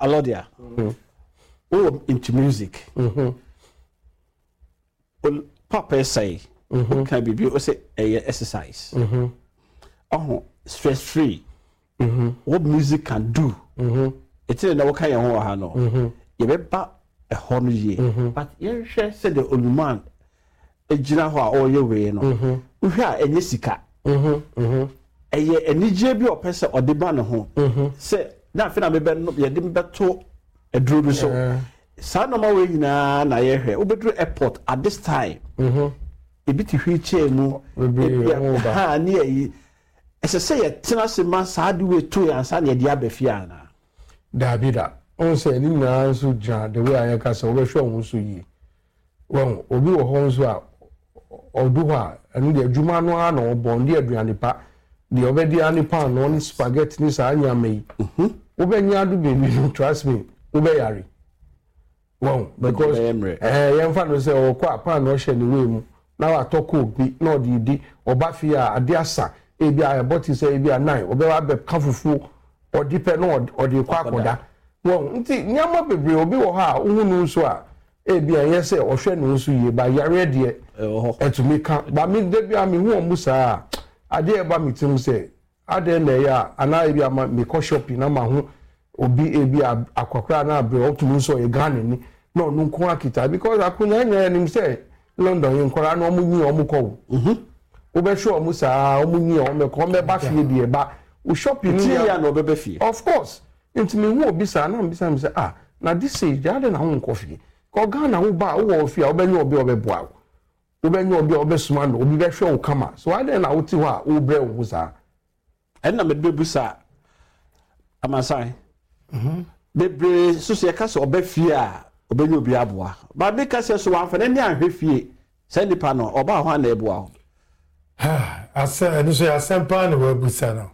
Alordia, wowɔ into music. Papa ɛsɛe, woka biribi wo sɛ ɛyɛ exercise. Ɔho stress free. What music can do. Ɛti na woka yɛn ho wɔ ha no. Yɛbɛba ɛhɔ no yie. But yɛnhwɛ sɛdeɛ Oluman gyina hɔ a ɔreyɛ wei no. Wohwɛ a ɛnyɛ sika. Ɛyɛ anigyeɛ bi a ɔpɛ sɛ ɔde ma ne ho. Sɛ na afei na mebɛ yɛde bɛto aduro bi so. Saa nneɛma wei nyinaa na yɛhwɛ. Wobɛduru airport at this time. Ebi te wheelchair mu. Bebree Ebi a wɔn ba. Ha ne ayi. Ɛsɛ sɛ yɛtena ase ma saa de wei to yɛn ansa na yɛde aba fie anaa? Daabi da. Wohu sɛ ne nyinaa nso gyina the way a yɛka sɛ wobɛhwɛ wo ho so yie. Wahu, obi wɔ hɔ nso a ɔdu hɔ a, ɛno deɛ adwuma no ara na ɔbɔ, ɔndi aduane pa. Deɛ ɔbɛdi ara ne paanoo ne spaghetti ne saa nneɛma yi. Wobɛnya ado baabi no, trust me, wobɛyare. Wahu, because Bɛyɛ mmerɛ. ɛɛ yɛmfa no sɛ ɔkɔ a paanoo hyɛ ne wei mu na watɔ coke bi na ɔde redi, ɔba fie a ade asa, ebi a ɛbɔ te sɛ ebi a 9, ɔbɛba abɛka fufuo, ɔde pɛ na ɔde kɔ akɔda. Wahu, nti nneɛma bebree, obi wɔ hɔ a wohu no nso a, ebi a ɛnyɛ sɛ ɔhwɛ ne ho so yie, ba yareɛ deɛ Ɛwɔ hɔ. ɛtumi ka. Ba me da bi a mehu wɔn saa a, adeɛ a ɛba me tirim sɛ adɛn na ɛyɛ a, anaa ebi a ma mekɔ shopping na maho obi ebi a akɔkora na abrɛ ɔtumi nso ɔyɛ Ghana ni na ɔno nko akita because akonnwa nyinaa yɛnim sɛ London yɛ nkɔla na wɔn nyi wɔn kɔ o. Wobɛhwɛ wɔn saa wɔn nyi wɔn bɛkɔ wɔn bɛba fie deɛ ba wo shopping Tie ni yɛ a na ɔbɛba fie. Of course, nti mehu obi saa na mbisa mi sɛ, ah, na this age deɛ adɛn na wo nkɔ fie? Kɔ Ghana, wo ba a wowɔ fie a wobɛnyɛ obi a ɔbɛboa wo, wobɛnyɛ obi a ɔbɛsoma no, obi bɛhwɛ wo kama, so adɛn na wote hɔ a wobrɛ wo ho saa? Ɛnna mede bɛbusa amansan bebree so sɛ yɛka sɛ ɔbɛ fie a ɔbɛnya obi aboa ba meka sɛ so wamfa n'ani anhwɛ fie saa nipa no ɔbaa hɔ a na ɛboa wo. Asɛm ɛno so yɛ asɛm paa na wabusa no.